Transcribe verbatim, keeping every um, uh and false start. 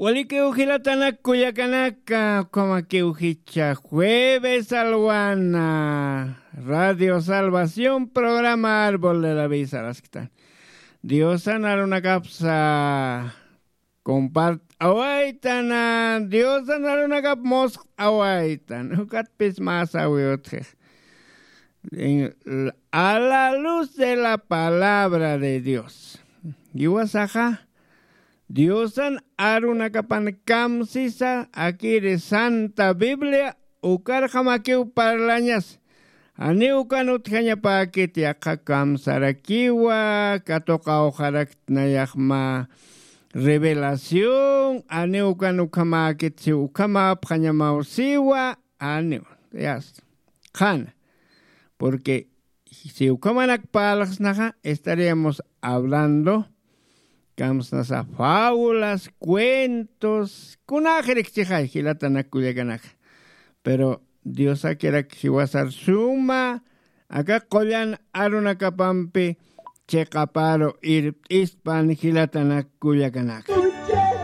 Walikiw jilatanak kullakanaka, ukhamakiw jichha jueves alwana, Radio Salvación, programa Árbol de la Vida sarasktan. Diosan arunakapsa compart'awaytana, Diosan arunakap musq'awaytan. Ukatpis mä sawi utjix. En, a la luz de la palabra de Dios. Jiwasaxa Diosan arunakapan kamsisa, akiri Santa Biblia, ukarjamakiw parlañas. Janiw ukan utjañapäkit, yaqha kamsarakiwa, katuqawxaraktnayax mä revelación, janiw ukan ukhamäkit, si ukhamäpxañamaw siwa, janiw. Ya está. Qhana. Porque si ukhamanak parlxsnaxa, estaríamos hablando, kamsnasa fábulas, cuentos, kunäxirikchixay, jilatanak kullakanaka. Pero Diosakirak jiwasar suma, aka qullan arunakapampi chiqaparu irpt'ispan, jilatanak kullakanaka.